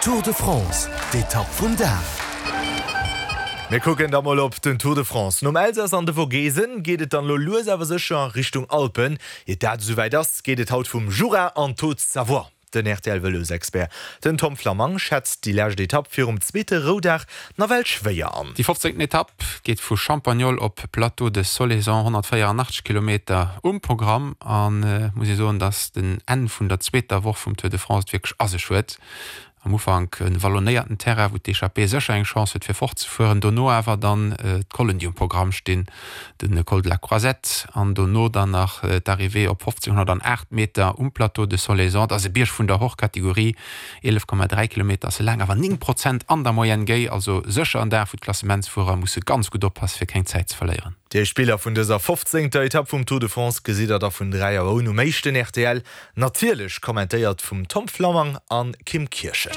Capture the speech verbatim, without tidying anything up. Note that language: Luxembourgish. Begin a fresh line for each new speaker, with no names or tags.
Tour de France, d'Etapp vum Dag.
Mir kucken da mol op den Tour de France. Nom Elsass an de Vogesen geet et dann lo lues awer sécher Richtung Alpen. Ier dat esouwäit ass, geet et haut vum Jura an d'Haute-Savoie. Den R T L-Vëlosexpert, den Tom Flammang, schätzt déi lescht Etapp virum zweete Roudag nawell schwéier an.
Déi fofzéngten Etapp geet vu Champagnole op Plateau de Solaison, honnertvéieranachtzeg Kilometer um Programm. An et muss ee soen, datt den Enn vun der zweeter Woch vum Tour de France et wierklech a sech huet. Am Ufank e wallonéierten Terrain, wou d'Echappée sécher eng Chance huet fir fortzefueren, dono awer dann d'Collen déi um Programm stinn, de Col de la Croisette an dono dann nach d'Arrivée op fofzénghonnertaacht Meter um Plateau de Solaison. Dat ass e Bierg vun der Hors-Catégorie, eelef Komma dräi Kilometer ass e laang, awer néng Prozent an der Moyenne géi, also sécher en Dag wou d'Klassementsfuerer musse ganz gutt oppasse fir keng Zäit ze verléieren.
Déi éischt Biller vun dëser fofzéngter Etapp vum Tour de France gesitt der da vun dräi Auer un um éischten R T L, natierlech kommentéiert vum Tom Flammang a Kim Kirchen.